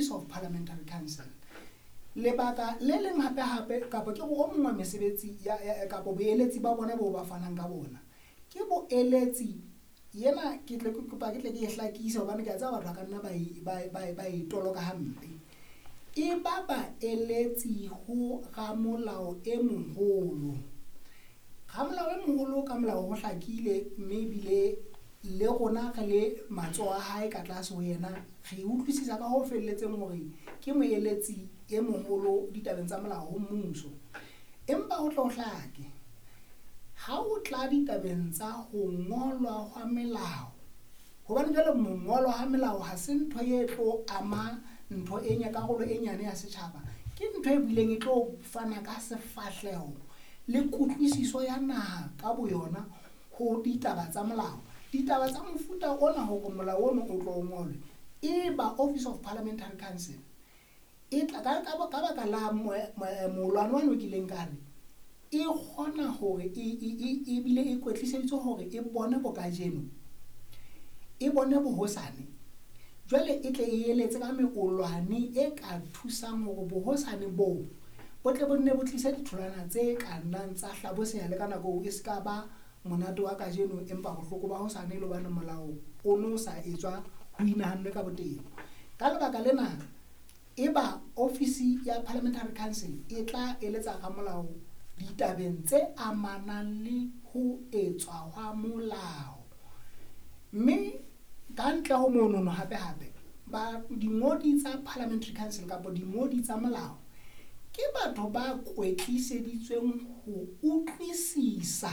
Office of Parliamentary Council. Lebaka le leng hape hape kapa ke o mong wa mesebetsi ya kapa boeletsi ba bona bo ba fanang ka bona ke boeletsi yena ke tle ke kopa ke tle ke e hlakise hobane ke a tseba batho ba ka nna ba e toloka hampe. E ba baeletsi ho ramolao e moholo. Ramolao e moholo ka molao ho hlakile mme ebile le rona re le matsoho a hae ka tlase ho yena re utlwisisa ka ho felletseng hore ke moeletsi e moholo ditabeng tsa molao ho mmuso. Empa ho tlo hlake ha o tla ditabeng tsa ho ngolwa hwa melao, hobane jwale mongolo ha melao ha se ntho e tlo ama ntho e karolo e nyane ya setjhaba, ke ntho e bileng e tlo fana ka sefahleho le kutlwisiso ya naha ka boyona ho ditaba tsa molao. Ditaba tsa mofuta ona hore molao ono o tlo ngolwe e ba Office of Parliamentary Council e tla ka baka la molwano wa kileng ka re e kgona hore e bile e kwetliseditswe hore e bone bokajeno, e bone bohosane. Jwale e tle e eletse ka meolwane e ka thusang hore bohosane boo bo tle bo nne bo tlise ditholwana tse ka nnang tsa hlaboseha le ka nako eo e se ka ba monate wa kajeno empa bohloko ba hosane le hobane molao o no sa etswa ho inahannwe ka botebo. Ka lebaka lena e ba Office ya Parliamentary Council e tla eletsa ramolao ditabeng tse amanang le ho etswa hwa molao. Mme ka ntle ho monono hape hape ba dingodi tsa Parliamentary Council kapa dingodi tsa molao ke batho ba kwetliseditsweng ho utlwisisa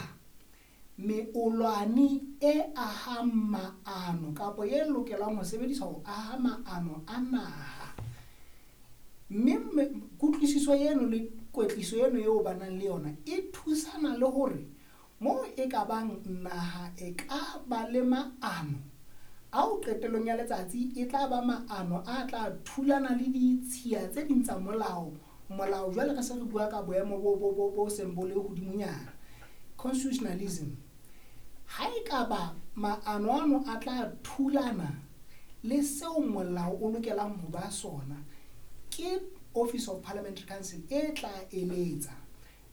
meolwane e ahang maano kapa e lokelang ho sebediswa ho aha maano a naha. Mme kutlwisiso eno le kwetliso eno eo ba nang le yona e thusana le hore moo e ka bang naha e ka ba le maano ao qetellong ya letsatsi e tla ba maano a tla thulana le ditshiya tse ding tsa molao. Molao jwale re se re bua ka boemo bo seng bo le hodimonyana, constitutionalism. Ha e ka ba maano ano a tla thulana le seo molao o lokelang ho ba sona, ke Office of Parliamentary Council e tla eletsa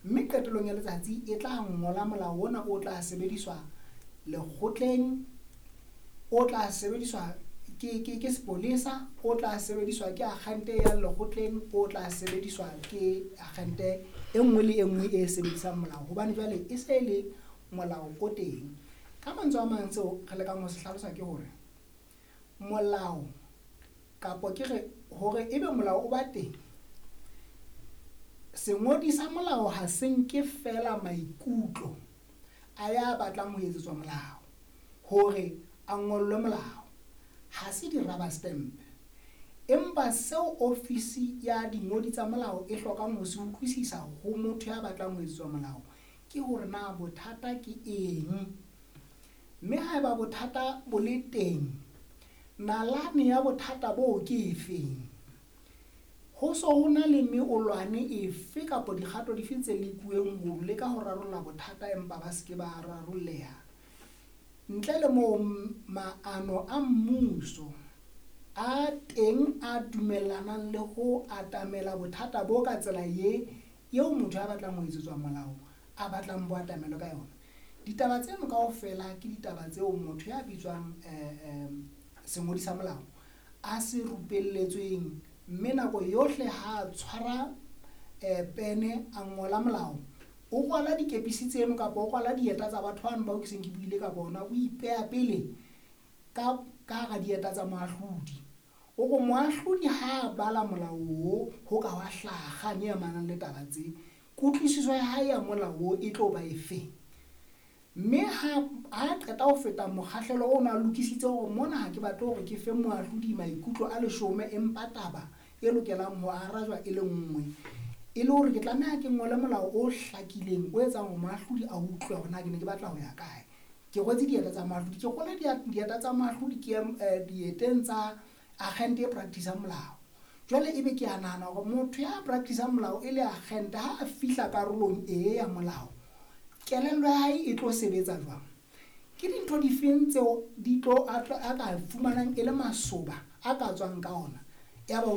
mme qetellong ya letsatsi e tla ngola molao ona o tla sebediswa lekgotleng, o tla sebediswa ke sepolesa, o tla sebediswa ke agente ya lekgotleng, o tla sebediswa ke agente e nngwe le e nngwe e sebedisang molao hobane jwale e se le molao o teng. Ka mantswe a mang seo re lekang ho se hlalosa ke hore molao kapa ke re hore ebe molao o ba teng, sengodi sa molao ha se nke fela maikutlo a ya batlang ho etsetswa molao hore a ngollwe molao, ha se di-rubber stamp. Empa seo ofisi ya dingodi tsa molao e hlokang ho se utlwisisa ho motho ya batlang ho etsetswa molao ke hore na bothata ke eng, mme haeba bothata bo le teng, nalane ya bothata boo ke efeng, ho so ho na le meolwane efe kapa dikgato dife tse lekuweng ho leka ho rarolla bothata empa ba se ke ba rarolleha. Ntle le moo maano a mmuso a teng a dumellanang le ho atamela bothata bo ka tsela ye eo motho a batlang ho etsetswa molao a batlang bo atamelwe ka yona. Ditaba tseno kaofela ke ditaba tseo motho ya bitswang sengodi sa molao a se rupelletsweng, mme nako yohle ha a tshwara pene a ngola molao, o rwala dikepisi tseno kapa o rwala dieta tsa batho bano bao ke seng ke buile ka bona, o ipeha pele ka hara dieta tsa moahlodi. O re moahlodi ha a bala molao oo ho ka wa hlaha kgang e amanang le taba tse, kutlwisiso ya hae ya molao oo e tlo ba efeng. Mme ha a qeta ho feta mokgahlelo ona a lokisitse hore mona ha ke batle hore ke fe moahlodi maikutlo a leshome empa taba e lokelang ho arajwa e le nngwe, e le hore ke tlameha ke ngole molao o hlakileng o etsang hore moahlodi a utlwe hore na ke ne ke batla ho ya kae. Ke rwetse dieta tsa moahlodi, ke rwele dieta tsa moahlodi ke dieteng tsa agente e practice-ang molao. Jwale ebe ke a nahana hore motho ya practice-ang molao e le agente ha a fihla karolong e ya molao, kelello ya hae e tlo sebetsa jwang? Ke dintho difeng tseo di tlo a ka fumanang e le masoba a ka tswang ka ona? Ya ba o